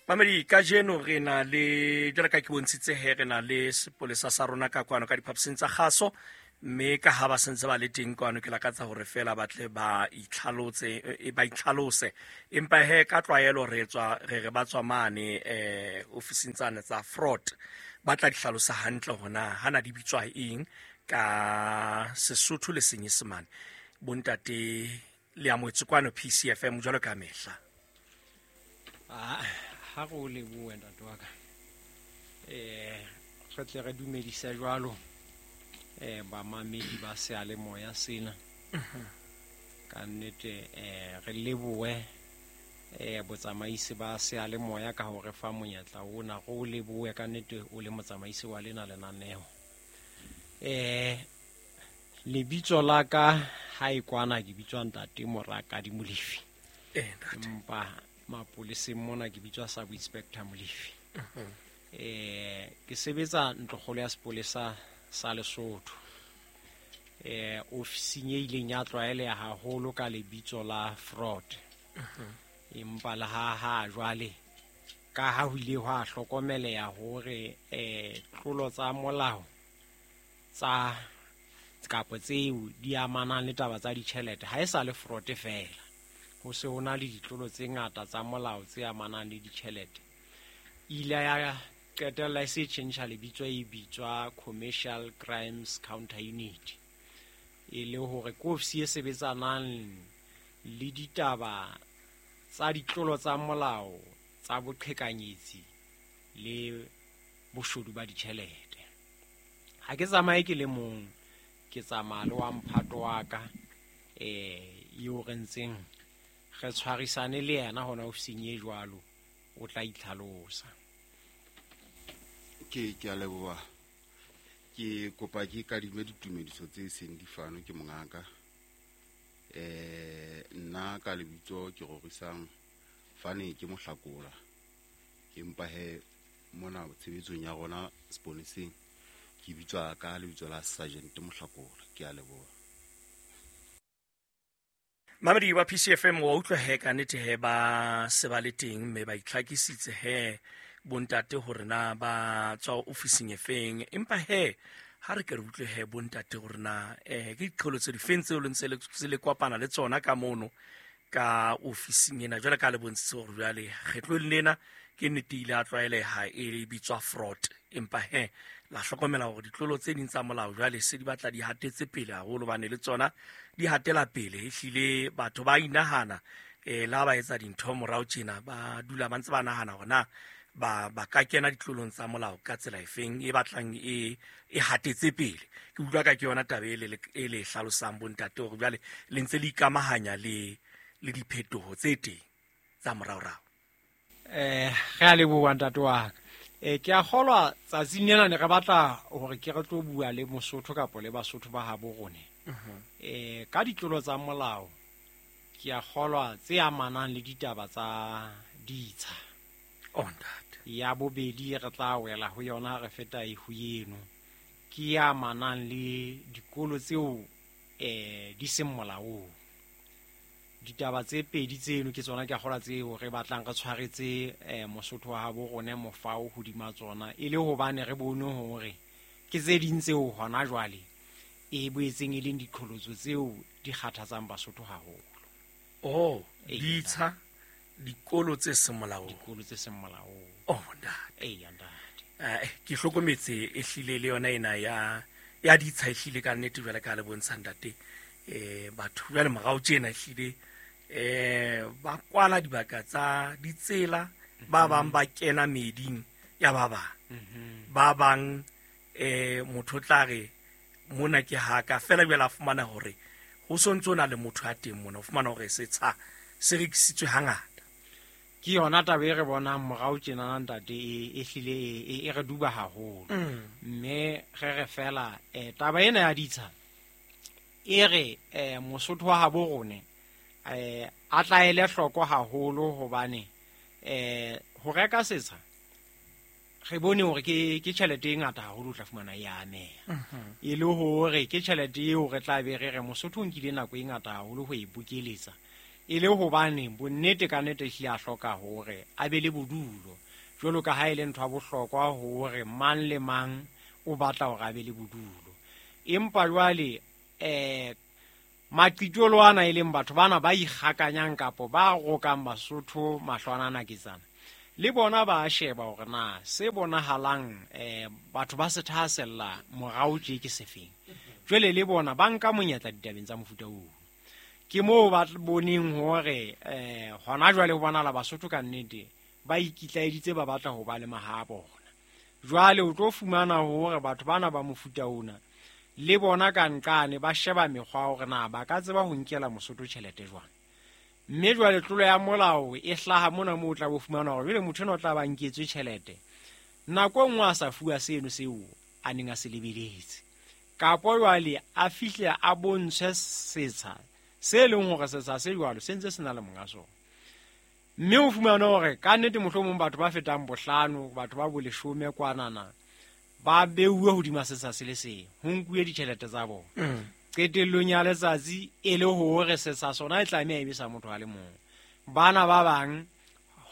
Mamedi, kajeno re na le, jwalo ka ke bontshitse he, re na le sepolesa sa rona ka kwano ka diphaposing tsa kgaso, mme ka ha ba sentse ba le teng kwano, ke lakatsa hore feela ba tle ba itlhalotse, ba itlhalose. Empa he ka tlwaelo re tswa re re ba tswa mane ofising tsane tsa fraud, ba tla di hlalosa hantle hore na hana di bitswa eng ka Sesotho le Senyesemane. Bontate, le amohetswe kwano PCFM jwalo ka mehla. Ha re o lebohe, ntate wa ka. Re tle re dumedise jwalo bamamedi ba seyalemoya sena. Ka nnete re lebohe botsamaisi ba seyalemoya ka ho re fa monyetla ona. Re o lebohe ka nnete o le motsamaisi wa lena lenaneo. Lebitso la ka ha e kwana ke bitswa Ntate Morakadi Molefi. Ntate. Empa mapoleseng mona ke bitswa Sub Inspector Molefi. Ke sebetsa ntlokgolo ya sepolesa sa Lesotho. Ofising e ileng ya tlwaeleha haholo ka lebitso la fraud. Empa le ha jwale ka ha ho ile hwa hlokomeleha hore tlolo tsa molao tsa kapo tseo di amanang le taba tsa ditjhelete ha e sa le fraud fela. Ho se ho na le ditlolo tse ngata tsa molao tse amanang le ditjhelete. Ile ya qetella e se tjhentjha lebitso, e bitswa Commercial Crimes Counter Unit, e le hore ke ofisi e sebetsanang le ditaba tsa ditlolo tsa molao tsa boqhekanyetsi le boshodu ba ditjhelete. Ha ke tsamaye ke le mong, ke tsamaya le wa mphato wa ka, eo re ntseng re tshwarisane le yena hona ofising e jwalo, o tla itlhalosa. Ke a leboha. Ke kopa ke kadime ditumediso tse seng di fanwe ke mongaka. Nna ka lebitso ke Rorisang Fane, ke Mohlakola. Empa he mona tshebetsong ya rona seponeseng ke bitswa ka lebitso la Sergeant Mohlakola. Ke a leboha. Mamedi wa PCFM, wa utlwa he ka nnete he ba se ba le teng mme ba itlhakisitse he bontate hore na ba tswa ofising e feng. Empa he ha re ke re utlwe he bontate hore na ke diqholotso tse difeng tseo le ntse le kopana le tsona ka mono ka ofising ena. Jwale ka le bontshitse hore jwale kgetlong lena ke nnete ile a tlwaeleha e bitswa fraud, empa he la hlokomela hore ditlolo tse ding tsa molao jwale se di batla di hatetse pele haholo, hobane le tsona di hatela pele. Ehlile batho ba inahana, la ba etsa dintho morao tjena, ba dula ba ntse ba nahana hore na ba ka kena ditlolong tsa molao ka tsela efeng e batlang e hatetse pele. Ke utlwa ka ke yona taba e le hlalosang bontate hore jwale le ntse le ikamahanya le diphetoho tse teng tsa moraorao. Re a leboha ntate wa ka. Ke a kgolwa tsatsing lena ne re batla hore ke re tlo bua le Mosotho kapa le Basotho ba habo rona. Ka ditlolo tsa molao ke a kgolwa tse amanang le ditaba tsa ditsha. Oh, ntate. Ya bobedi re tla wela ho yona re feta e ho eno, ke ya amanang le dikolo tseo di seng molaong. Ditaba tse pedi tseno ke tsona ke a kgolwa tseo re batlang re tshwaretse Mosotho wa habo rona mofao hodima tsona, e le hobane re bone hore ke tse ding tseo hona jwale e boetseng e leng diqholotso tseo di kgathatsang Basotho haholo. Oh, ditsha, dikolo tse seng molaong. Dikolo tse seng molaong. Oh, ntate. Eya, ntate. Ke hlokometse ehlile le yona ena ya ditsha ehlile ka nnete jwale ka le bontsha ntate. Batho jwale morao tjena ehlile ba kwala dibaka tsa ditsela, ba bang ba kena meeding ya ba bang. Ba bang motho o tla re mona ke haka fela, jwale a fumana hore ho sontso na le motho ya teng mona, o fumana hore setsha se rekisitswe hangata. Ke yona taba e re bonang morao tjena ntate, e hlile e re duba haholo. Mme re re fela taba ena ya ditsha e re Mosotho wa habo rone a tlaele hloko haholo, hobane ho reka setsha re bone hore ke tjhelete e ngata haholo o tla fumana e ameha. E le hore ke tjhelete eo re tla be re re Mosotho o nkile nako e ngata haholo ho e bokeletsa. E le hobane bonnete ka nnete ehlile a hloka hore a be le bodulo, jwalo ka ha e le ntho ya bohlokwa hore mang le mang o batla hore a be le bodulo. Empa jwale maqitolo ana e leng batho bana ba ikgakanyang kapo ba rokang Basotho mahlwana ana ketsana, le bona ba a sheba hore na se bonahalang batho ba se thahasella morao tje ke sefeng. Jwale le bona ba nka monyetla ditabeng tsa mofuta oo. Ke moo ba boneng hore hona jwale ho bonahala Basotho ka nnete ba ikitlaeditse, ba batla ho ba le maha a bona. Jwale o tlo fumana hore batho bana ba mofuta ona le bona ka nqane ba sheba mekgwa hore na ba ka tseba ho nkela Mosotho tjhelete jwang. Mme jwale tlolo ya molao e hlaha mona moo o tla bo fumana hore jwale motho enwa o tla ba nketswe tjhelete nako e nngwe a sa fuwa seno seo a neng a se lebeletse, kapo jwale a fihle a bontshwe setsha se leng hore setsha se jwalo se ntse se na le monga sona. Mme o fumane hore ka nnete mohlomong batho ba fetang bohlano, batho ba boleshome kwanana ba beuwe hodima setsha se le seng, ho nkuwe ditjhelete tsa bona. Qetellong ya letsatsi e le hore setsha sona e tlameha e be sa motho a le mong. Bana ba bang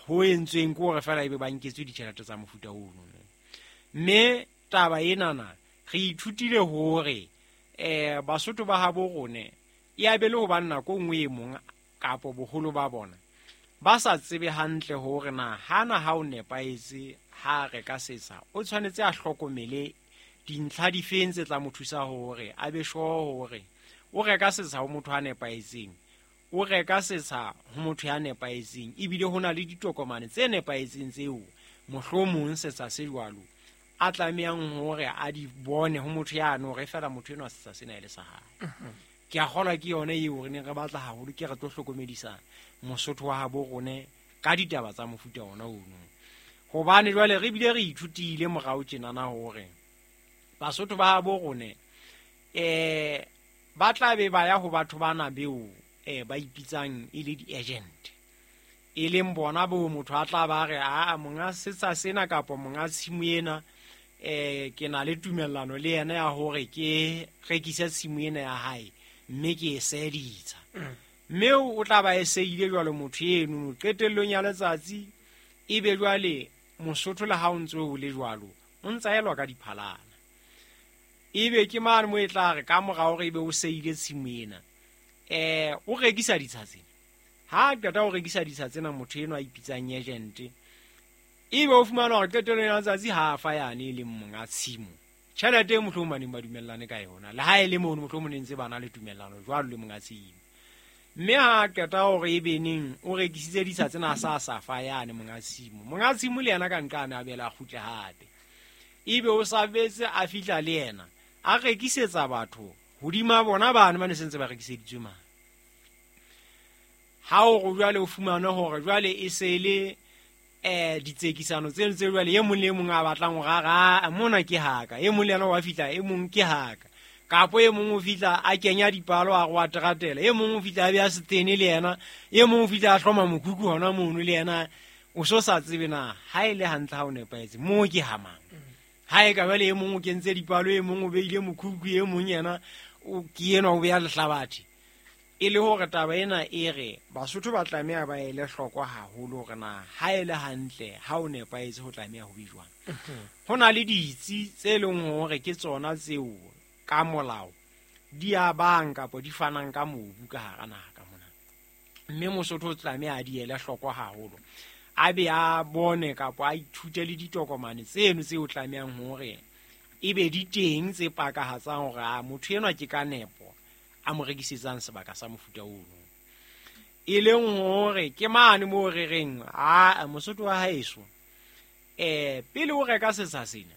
ho entsweng ke hore feela ebe ba nketswe ditjhelete tsa mofuta ono. Mme taba enana re ithutile hore Basotho ba habo rone e a be le hobane nako e nngwe e mong kapo boholo ba bona ba sa tsebe hantle hore na hana ha o nepahetse ha reka setsha, o tshwanetse a hlokomele dintlha difeng tse tla mo thusa hore a be sure hore o reka setsha ho motho a nepahetseng, o reka setsha ho motho ya nepahetseng, ebile ho na le ditokomane tse nepahetseng tseo mohlomong setsha se jwalo a tlamehang hore a di bone ho motho yane hore feela motho enwa setsha sena e le sa hae. Ke a kgolwa ke yone eo re neng re batla haholo, ke re tlo hlokomedisa Mosotho wa habo rone ka ditaba tsa mofuta ona ono. Hobane jwale re bile re ithutile morao tjenana hore Basotho ba habo rone ba tla be ba ya ho batho bana beo ba ipitsang e le di-agent, e leng bona bo motho a tla ba re a monga setsha sena kapo monga tshimo ena, ke na le tumellano le yena ya hore ke rekise tshimo ena ya hae mme ke e seditsa. Mme o tla ba e seile jwalo motho eno qetellong ya letsatsi ebe jwale Mosotho le ha o ntse o le jwalo o ntsa elwa ka diphalana. Ebe ke mane mo e tla re ka mora hore ebe o seile tshimo ena, o rekisa ditsha tsena. Ha a qeta ho rekisa ditsha tsena motho eno a ipitsang agent, ebe o fumana hore qetellong ya letsatsi ha a fa yane e leng monga tshimo tjhelete e mohlomong ba neng ba dumellane ka yona, le ha e le mono mohlomong ne ntse ba na le tumellano jwalo le monga tshimo. Mme ha a qeta hore ebe neng o rekisitse ditsha tsena a sa sa fa yane monga tshimo, monga tshimo le yena ka nqane a bela a kgutle hape, ebe o sa betse a fihla le yena a rekisetsa batho hodima bona bane ba ne sentse ba rekiseditswe mane. Ha o re jwale o fumane hore jwale e se le ditsekisano tseno tse jwale e mong le e mong a batlang hore a re, mona ke haka, e mong le yena wa fihla, e mong ke haka, kapo e mong o fihla a kenya dipalo a re wa teratela, e mong o fihla a beha setene le yena, e mong o fihla a hloma mokhukhu hona mono le yena, o so sa tsebe na ha e le hantle ha o nepahetse moo ke ha mang. Ha e ka jwale e mong o kentse dipalo, e mong o beile mokhukhu, e mong yena o ke enwa o beha lehlabathe. E le hore taba ena e re Basotho ba tlameha ba ele hloko haholo hore na ha e le hantle ha o nepahetse ho tlameha ho be jwang. Ho na le ditsi tse leng hore ke tsona tseo ka molao di abang kapa di fanang ka mobu ka hara naha ka mona. Mme Mosotho o tlameha a di ele hloko haholo, a be a bone kapa a ithute le ditokomane tseno tseo tlamehang hore e be di teng tse pakahatsang hore a motho enwa ke ka nepo a mo rekisetsang sebaka sa mofuta ono. E leng hore ke mane moo re reng a Mosotho wa haeso, pele o reka setsha sena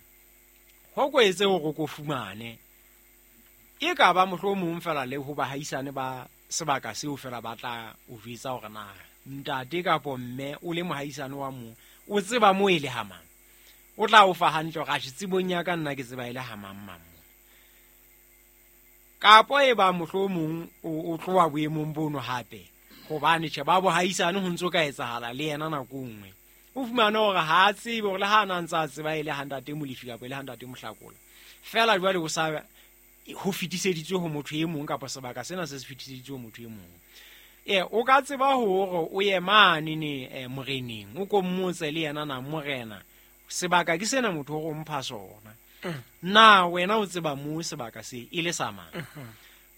ho ko etse hore o ko fumane e ka ba mohlomong fela le ho bahaisane ba sebaka seo fela ba tla o jwetsa hore na ntate kapo mme o le mohaisane wa mo o tseba mo e le ha mang, o tla o fa hantle hore atjhe tsebong ya ka nna ke tseba e le ha mang mang. Kapo e ba mohlomong o tloha boemong bono hape, hobane tjhe ba bohaisane ho ntso ka etsahala le yena nako e nngwe, o fumane hore ha a tsebe hore le ha a na ntse a tseba e le ha ntate Molefi kapa e le ha ntate Mohlakola, fela jwale o sa ho fetiseditswe ho motho e mong kapa sebaka sena se se fetiseditswe ho motho e mong. O ka tseba hore o ye mane ne moreneng, o ko mmotse le yena na morena, sebaka ke sena motho o mpha sona. Na wena o tseba mo sebaka se e le sa mang?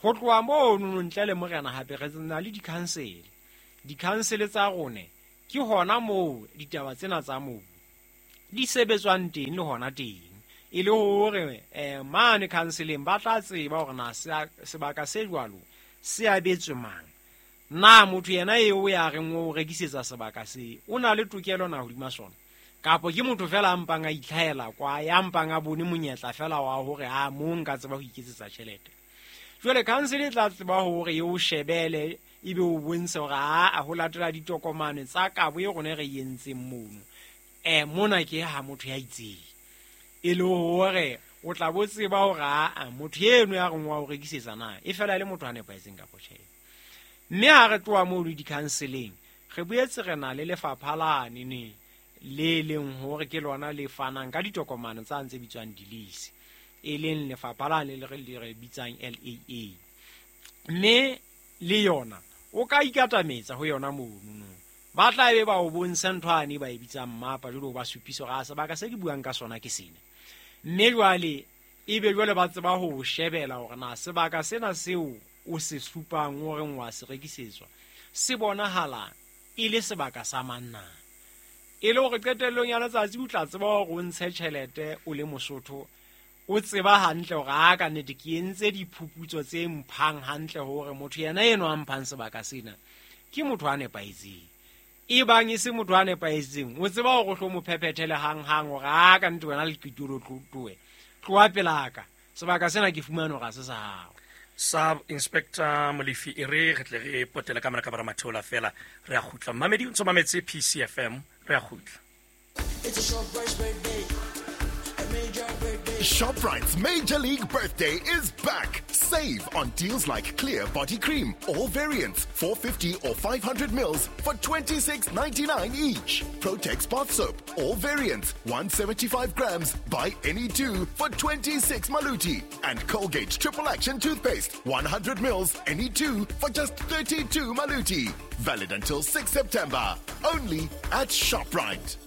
Ho tloha mono ntle le morena hape re na le di-council. Di-council tsa rone ke hona moo ditaba tsena tsa mobu di sebetswang teng le hona teng. E le hore mane councileng ba tla tseba hore na sebaka se jwalo se abetswe mang. Na motho yena eo ya reng o rekisetsa sebaka se o na le tokelo na hodima sona, kapo ke motho fela a mpang a itlhahela kwa, ya mpang a bone monyetla fela wa hore a mo nka tseba ho iketsetsa tjhelete. Jwale council e tla tseba hore e o shebele ebe o bontshe hore a ho latela ditokomane tsa kabo e rona re entseng mono. Mona ke ha motho ya itseng, e le hore o tla bo tseba hore a motho eno ya reng wa o rekisetsa na e fela le motho a nepahetseng kapo tjhe. Mme ha re tloha mono di-councileng, re boetse re na le lefapha lane ne le leng hore ke lona le fanang ka ditokomane tsa ntse bitswang di-lease, e leng lefapha lane le re bitsang LAA. Mme le yona o ka ikatametsa ho yona mono, ba tla be ba o bontsha ntho ane ba e bitsang mmapa, jwale o ba supisa hore a sebaka se ke buang ka sona ke sena. Mme jwale ebe jwale ba tseba ho o shebela hore na sebaka sena seo o se supang o reng wa se rekisetswa se bonahala e le sebaka sa mang na. E le hore qetellong ya letsatsi o tla tseba hore o ntshe tjhelete o le Mosotho, o tseba hantle hore a ka nnete ke entse diphuputso tse mphang hantle hore motho yena eno a mphang sebaka sena ke motho a nepahetseng. E bang e se motho a nepahetseng, o tseba hore o hlo mo phephethele hang-hang hore a ka nnete wena leqitolo tloe, tloha pelaka, sebaka sena ke fumane hore ha se sa hao. Sub Inspector Molefi, e re re tle re potele ka mona ka bara matheola fela, re a kgutla. Mmamedi o ntso mametse PCFM, re a kgutla. It's a ShopRite's birthday. A major birthday. ShopRite's Major League Birthday is back. Save on deals like Clear Body Cream, all variants, 450 or 500 mils for $26.99 each. Protex Bath Soap, all variants, 175 grams, buy any two for 26 maluti. And Colgate Triple Action Toothpaste, 100 mils, any two for just 32 maluti. Valid until 6 September. Only at ShopRite.